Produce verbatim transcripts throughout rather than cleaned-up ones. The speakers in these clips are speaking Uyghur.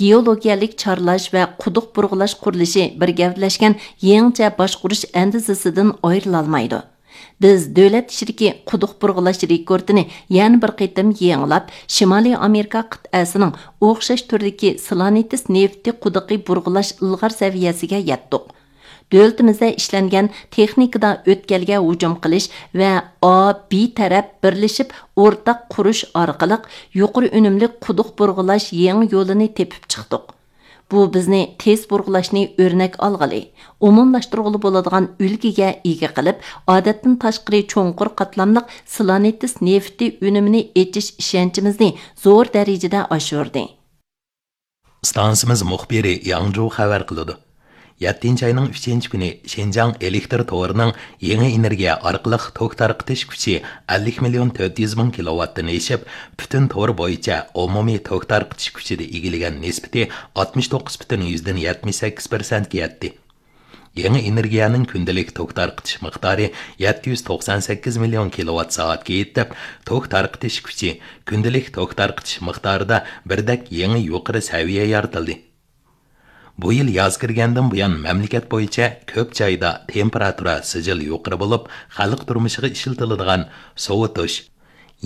گېئولوگىيەلىك چارلاش ۋە قۇدۇق بۇرغىلاش قۇرۇلۇشى بىر گەۋدىلەشكەن يېڭىچە باشقۇرۇش ئەندىزىسىدىن ئايرىلالمايدۇ. بىز دۆلەت ئىچىدىكى قۇدۇق بۇرغىلاش رېكورتىنى يەنە بىر قېتىم يېڭىلاپ، شىمالىي ئامېرىكا قىتئەسىنىڭ ئوخشاش تۈردىكى سلانېتس نېفىتى قۇدۇقى بۇرغىلاش ئىلغار سەۋىيەسىگە يەتتۇق. دۆلىتىمىزدە ئىشلەنگەن تېخنىكىدا ئۆتكەلگە ھۇجۇم قىلىش ۋە ئا، بى تەرەپ بىرلىشىپ ئورتاق قۇرۇش ئارقىلىق يۇقىرى ئۈنۈملۈك قۇدۇق بۇرغىلاش يېڭى يولىنى تېپىپ چىقتۇق. بۇ بىزنى تېز بۇرغىلاشنى ئۆرنەك ئالغىلى، ئومۇملاشتۇرغىلى بولىدىغان ئۈلگىگە ئىگە قىلىپ، ئادەتتىن تاشقىرى چوڭقۇر قاتلاملىق سلانېتس نېفىتى ئۈنۈمىنى ئېچىش ئىشەنچىمىزنى زور دەرىجىدە ئاشۇردى. ئىستانسىمىز مۇخبىرى ياڭجۇ خەۋەر قىلىدۇ. يەتتىنچى ئاينىڭ ئۈچىنچى كۈنى شىنجاڭ ئېلېكتر تورىنىڭ يېڭى ئېنېرگىيە ئارقىلىق توك تارقىتىش كۈچى ئەللىك مىليون تۆت يۈز مىڭ كىلوۋاتتىن ئېشىپ، پۈتۈن تور بويىچە ئومۇمىي توك تارقىتىش كۈچىدە ئىگىلىگەن نىسبىتى ئاتمىش توققۇز پۈتۈن يۈزدىن يەتمىش سەككىز پىرسەنتكە يەتتى. يېڭى ئېنېرگىيەنىڭ كۈندىلىك توك تارقىتىش مىقدارى يەتتە يۈز توقسان سەككىز مىليون كىلوۋات سائەتكە يېتىپ، توك تارقىتىش كۈچى كۈندىلىك توك تارقىتىش مىقدارىدا بىردەك يېڭى يۇقىرى سەۋىيە يارىتىلدى. بۇ يىل ياز كىرگەندىن بۇيان، مەملىكەت بويىچە كۆپ جايدا تېمپېراتۇرا سىجىل يۇقىرى بولۇپ، خەلق تۇرمۇشىغا ئىشلىتىلىدىغان سوۋۇتۇش،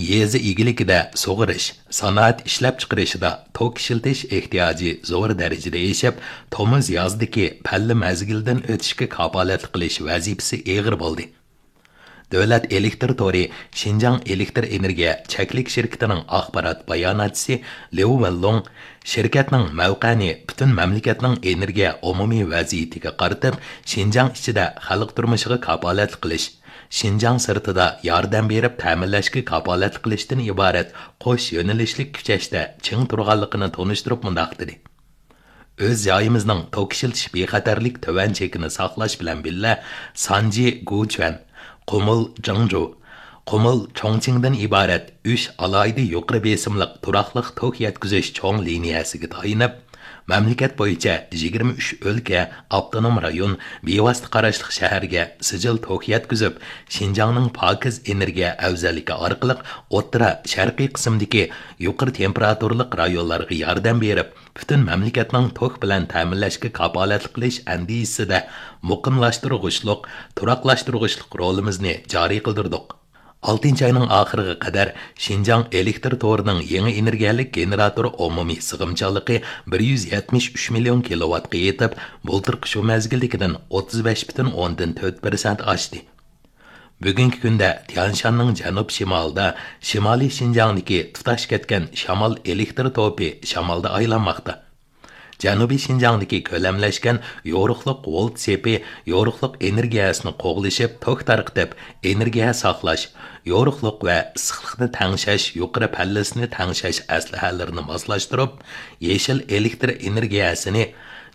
يېزا ئىگىلىكىدە سۇغىرىش، سانائەت ئىشلەپچىقىرىشىدا توك ئىشلىتىش ئېھتىياجى زور دەرىجىدە ئېشىپ، تومۇز يازدىكى پەللە مەزگىلدىن ئۆتۈشكە كاپالەتلىك قىلىش ۋەزىپىسى ئېغىر بولدى. دۆلەت ئېلېكتر تورى شىنجاڭ ئېلېكتر ئېنېرگىيە چەكلىك شىركىتىنىڭ ئاخبارات باياناتچىسى ليۇ ۋېنلۇڭ شىركەتنىڭ مەۋقەنى پۈتۈن مەملىكەتنىڭ ئېنېرگىيە ئومۇمىي ۋەزىيىتىگە قارىتىپ، شىنجاڭ ئىچىدە خەلق تۇرمۇشىغا كاپالەتلىك قىلىش، شىنجاڭ سىرتىدا ياردەم بېرىپ تەمىنلەشكە كاپالەتلىك قىلىشتىن ئىبارەت قوش يۆنىلىشلىك كۈچەشتە چىڭ تۇرغانلىقىنى تونۇشتۇرۇپ مۇنداق دېدى: ئۆز جايىمىزنىڭ توك ئىشلىتىش بىخەتەرلىك تۆۋەن چېكىنى ساقلاش بىلەن بىللە، سانجى گۇچۈەن، قۇمۇل جىڭجۇ، قۇمۇل چۇڭچىڭدىن ئىبارەت ئۈچ ئالاھىدە يۇقىرى بېسىملىق تۇراقلىق توك يەتكۈزۈش چوڭ لىنىيەسىگە تايىنىپ، مەملىكەت بويىچە يىگىرمە ئۈچ ئۆلكە، ئاپتونوم رايون، بىۋاسىتە قاراشلىق شەھەرگە سىجىل توك يەتكۈزۈپ، شىنجاڭنىڭ پاكىز ئېنېرگىيە ئەۋزەللىكى ئارقىلىق ئوتتۇرا شەرقىي قىسىمدىكى يۇقىرى تېمپېراتۇرىلىق رايونلارغا ياردەم بېرىپ، پۈتۈن مەملىكەتنىڭ توك بىلەن تەمىنلەشكە كاپالەتلىك قىلىش ئەندىزىسىدە مۇقىملاشتۇرغۇچلۇق، تۇراقلاشتۇرغۇچلۇق رولىمىزنى جارى قىلدۇردۇق. ئالتىنچى ئاينىڭ ئاخىرىغا قەدەر شىنجاڭ ئېلېكتر تورىنىڭ يېڭى ئېنېرگىيەلىك گېنېراتور ئومۇمىي سىغىمچانلىقى بىر يۈز يەتمىش ئۈچ مىليون كىلوۋاتقا يېتىپ، بۇلتۇرقى شۇ مەزگىلدىكىدىن ئوتتۇز بەش پۈتۈن ئوندىن تۆت پىرسەنت ئاشتى. بۈگۈنكى كۈندە تيانشاننىڭ جەنۇب شىمالىدا، شىمالىي شىنجاڭدىكى تۇتاش كەتكەن شامال ئېلېكتر توپى شامالدا ئايلانماقتا. جەنۇبىي شىنجاڭدىكى كۆلەملەشكەن يورۇقلۇق ۋولت سېپى يورۇقلۇق ئېنېرگىيەسىنى قوغلىشىپ، توك تارقىتىپ، ئېنېرگىيە ساقلاش، يورۇقلۇق ۋە ئىسسىقلىقنى تەڭشەش يۇقىرى پەللىسىنى تەڭشەش ئەسلىھەلىرىنى ماسلاشتۇرۇپ، يېشىل ئېلېكتر ئېنېرگىيەسىنى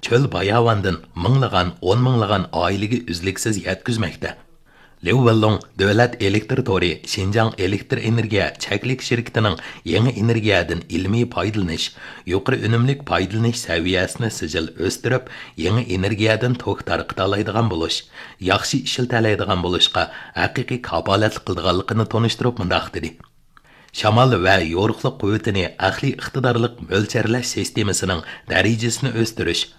چۆل باياۋاندىن مىڭلىغان، ئون مىڭلىغان ئائىلىگە ئۈزلۈكسىز يەتكۈزمەكتە. ليۇ ۋېنلۇڭ دۆلەت ئېلېكتر تورى شىنجاڭ ئېلېكتر ئېنېرگىيە چەكلىك شىركىتىنىڭ يېڭى ئېنېرگىيەدىن ئىلمىي پايدىلىنىش، يۇقىرى ئۈنۈملۈك پايدىلىنىش سەۋىيەسىنى سىجىل ئۆستۈرۈپ، يېڭى ئېنېرگىيەدىن توك تارقىتالايدىغان بولۇش، ياخشى ئىشلىتەلەيدىغان بولۇشقا ھەقىقىي كاپالەتلىك قىلىدىغانلىقىنى تونۇشتۇرۇپ مۇنداق دېدى: شامال ۋە يورۇقلۇق قۇۋۋىتىنى ئەقلىي ئىقتىدارلىق مۆلچەرلەش سىستېمىسىنىڭ دەرىجىسىنى ئۆستۈرۈش،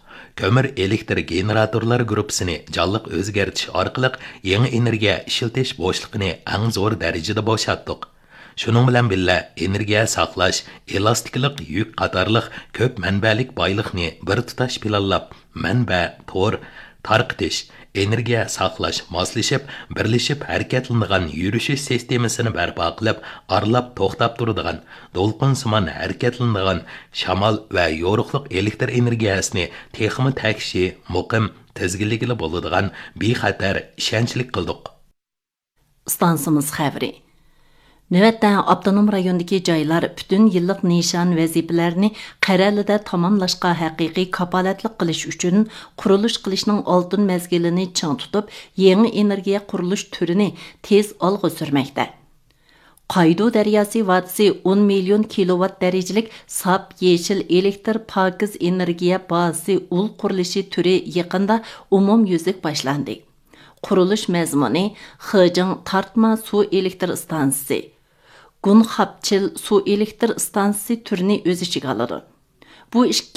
كۆمۈر ئېلېكتر گېنېراتورلار گۇرۇپپىسىنى جانلىق ئۆزگەرتىش ئارقىلىق يېڭى ئېنېرگىيە ئىشلىتىش بوشلۇقىنى ئەڭ زور دەرىجىدە بوشاتتۇق. شۇنىڭ بىلەن بىللە، ئېنېرگىيە ساقلاش، ئېلاستىكلىق يۈك قاتارلىق كۆپ مەنبەلىك بايلىقنى بىر تۇتاش پىلانلاپ، مەنبە، تور، تارقىتىش، ئېنېرگىيە ساقلاش، ماسلىشىپ، بىرلىشىپ ھەرىكەتلىنىدىغان يۈرۈشۈش سىستېمىسىنى بەرپا قىلىپ، ئارىلاپ توختاپ تۇرىدىغان، دولقۇنسىمان ھەرىكەتلىنىدىغان شامال ۋە يورۇقلۇق ئېلېكتر ئېنېرگىيەسىنى تېخىمۇ تەكشى، مۇقىم، تىزگىنلىگىلى بولىدىغان بىخەتەر، ئىشەنچلىك قىلدۇق. ئىستانسىمىز خەۋىرى. نۆۋەتتە ئاپتونوم رايوندىكى جايلار پۈتۈن يىللىق نىشان ۋەزىپىلەرنى قەرەلىدە تاماملاشقا ھەقىقىي كاپالەتلىك قىلىش ئۈچۈن، قۇرۇلۇش قىلىشنىڭ ئالتۇن مەزگىلىنى چىڭ تۇتۇپ، يېڭى ئېنېرگىيە قۇرۇلۇش تۈرىنى تېز ئالغا سۈرمەكتە. قايدۇ دەرياسى ۋادىسى ئون مىليون كىلوۋات دەرىجىلىك ساپ يېشىل ئېلېكتر پاكىز ئېنېرگىيە بازىسى ئۇل قۇرۇلۇشى تۈرى يېقىندا ئومۇميۈزلۈك باشلاندى. قۇرۇلۇش مەزمۇنى خېجىڭ تارتما سۇ ئېلېكتر ئىستانسىسى، گۇنخاپچىل سۇ ئېلېكتر ئىستانسىسى تۈرىنى ئۆز ئىچىگە ئالىدۇ. بۇ ئىككى